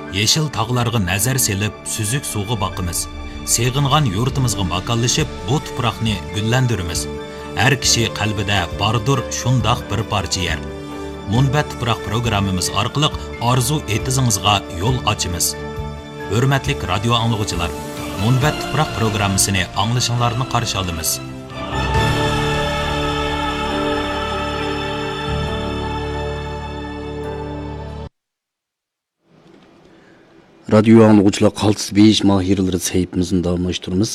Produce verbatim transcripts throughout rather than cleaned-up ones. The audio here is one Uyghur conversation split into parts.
يېشىل تاغلارغا نەزەر سېلىپ، سۈزۈك سۇغا باقىمىز. سېغىنغان يۇرتىمىزغا ماكانلىشىپ، بۇ تۇپراقنى گۈللەندۈرىمىز. ھەر كىشى قەلبىدە باردۇر شۇنداق بىر پارچە يەر. مۇنبەت تۇپراق پروگراممىمىز ئارقىلىق ئارزۇ ئېتىزىڭىزغا يول ئاچىمىز. ھۆرمەتلىك رادىيو ئاڭلىغۇچىلار، مۇنبەت تۇپراق پروگراممىسىنى ئاڭلىشىڭلارنى قارشى ئالىمىز. رادىيو ئاڭلىغۇچىلار، قالتىس بېيىش ماھىرلىرى سەھىپىمىزنى داۋاملاشتۇرىمىز.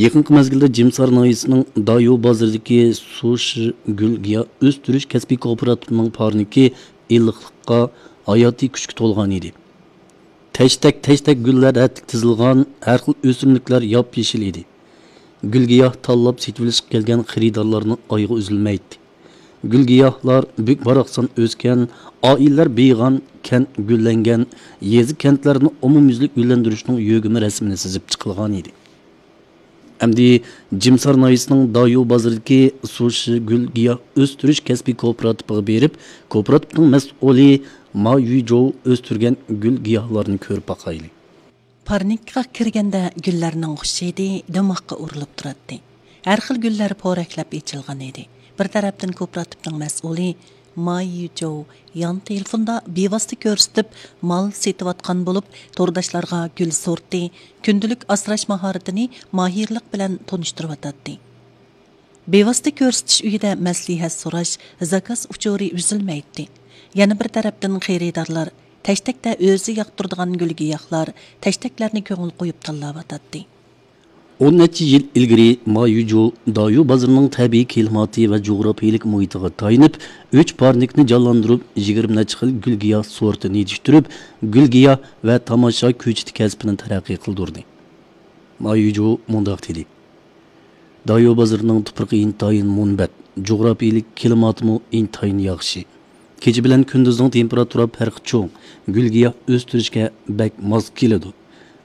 يېقىنقى مەزگىلدە جىمسار ناھىيەسىنىڭ دايو بازىرىدىكى سۇشى گۈل گىياھ ئۆستۈرۈش كەسپىي كوپىراتىپىنىڭ پارنىكى ئىللىقلىققا، ھاياتىي كۈچكە تولغان ئىدى. تەشتەك-تەشتەك گۈللەر رەتلىك تىزىلغان، ھەر خىل ئۆسۈملۈكلەر ياپيېشىل ئىدى. گۈل گىياھ تاللاپ سېتىۋېلىشقا كەلگەن خېرىدارلارنىڭ ئايىغى ئۈزۈلمەيتتى. گۈل گىياھلار بۈك-باراقسان ئۆسكەن، ئائىلىلەر بېيىغان، كەنت گۈللەنگەن، يېزا-كەنتلەرنى ئومۇميۈزلۈك گۈللەندۈرۈشنىڭ يۆگىمە رەسىمىنى سىزىپ چىقىلغان ئىدى. ئەمدى جىمسار ناھىيەسىنىڭ دايو بازىرىدىكى سۇشى گۈل گىياھ ئۆستۈرۈش كەسپىي كوپىراتىپىغا بېرىپ، كوپىراتىپنىڭ مەسئۇلى ما يۈجوۋ ئۆستۈرگەن گۈل گىياھلارنى كۆرۈپ باقايلى. پارنىكقا كىرگەندە گۈللەرنىڭ خۇش ھىدى دىماغقا ئۇرۇلۇپ تۇراتتى. ھەر خىل گۈللەر پورەكلەپ ئېچىلغان ئىدى. بىر تەرەپتىن كوپىراتىپنىڭ مەسئۇلى ما يۈجوۋ يان تېلېفوندا بىۋاسىتە كۆرسىتىپ مال سېتىۋاتقان بولۇپ، تورداشلارغا گۈل سورتى، كۈندىلىك ئاسراش ماھارىتىنى ماھىرلىق بىلەن تونۇشتۇرۇۋاتاتتى. بىۋاسىتە كۆرسىتىش ئۆيىدە مەسلىھەت سوراش، زاكاز ئۇچۇرى ئۈزۈلمەيتتى. يەنە بىر تەرەپتىن خېرىدارلار تەشتەكتە ئۆزى ياقتۇرىدىغان گۈل-گىياھلار، تەشتەكلەرنى كۆڭۈل قويۇپ تاللاۋاتاتتى. ئون نەچچە يىل ئىلگىرى ما يۈجۇ دايۇ بازىرىنىڭ تەبىئىي كىلىماتى ۋە جۇغراپىيىلىك مۇھىتىغا تايىنىپ، ئۈچ پارنىكنى جانلاندۇرۇپ، يىگىرمە نەچچە خىل گۈل-گىياھ سورتىنى يېتىشتۈرۈپ، گۈل-گىياھ ۋە تاماشا كۆچىتى كەسپىنى تەرەققىي قىلدۇردى. ما يۈجۇ مۇنداق دېدى: دايۇ بازىرىنىڭ تۇپرىقى ئىنتايىن مۇنبەت، جۇغراپىيىلىك كىلىماتىمۇ ئىنتايىن ياخشى. كېچە بىلەن كۈندۈزنىڭ تېمپېراتۇرا پەرقى چوڭ، گۈل-گىياھ ئۆستۈرۈشكە بەك ماس كېلىدۇ.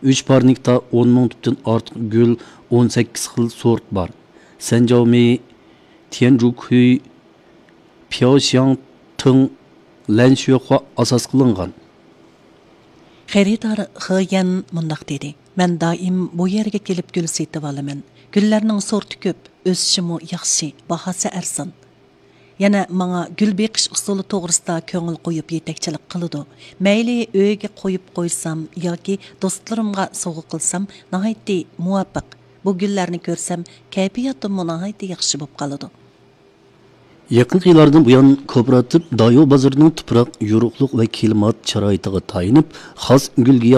ئۈچ پارنىكتا ئون مىڭدىن ئارتۇق گۈل، ئون سەككىز خىل سورت بار. سەنجاۋمېي، تيەنجۇكۈي، پياۋشياڭ تېڭ، لەنشۈەخۇا ئاساس قىلىنغان. خېرىدار خې يەن مۇنداق دېدى: مەن دائىم بۇ يەرگە كېلىپ گۈل سېتىۋالىمەن. گۈللەرنىڭ سورتى كۆپ، ئۆسۈشىمۇ ياخشى، باھاسى ئەرزان. يەنە ماڭا گۈل بېقىش ئۇسۇلى توغرىسىدا كۆڭۈل قويۇپ يېتەكچىلىك قىلىدۇ. مەيلى ئۆيگە قويۇپ قويسام ياكى دوستلىرىمغا سوۋغا قىلسام ناھايىتى مۇۋاپىق. بۇ گۈللەرنى كۆرسەم كەيپىياتىممۇ ناھايىتى ياخشى بولۇپ قالىدۇ. يېقىنقى يىللاردىن بۇيان، كوپىراتىپ دايۇ بازىرىنىڭ تۇپراق، يورۇقلۇق ۋە كىلىمات شارائىتىغا تايىنىپ، خاس گۈل-گىياھ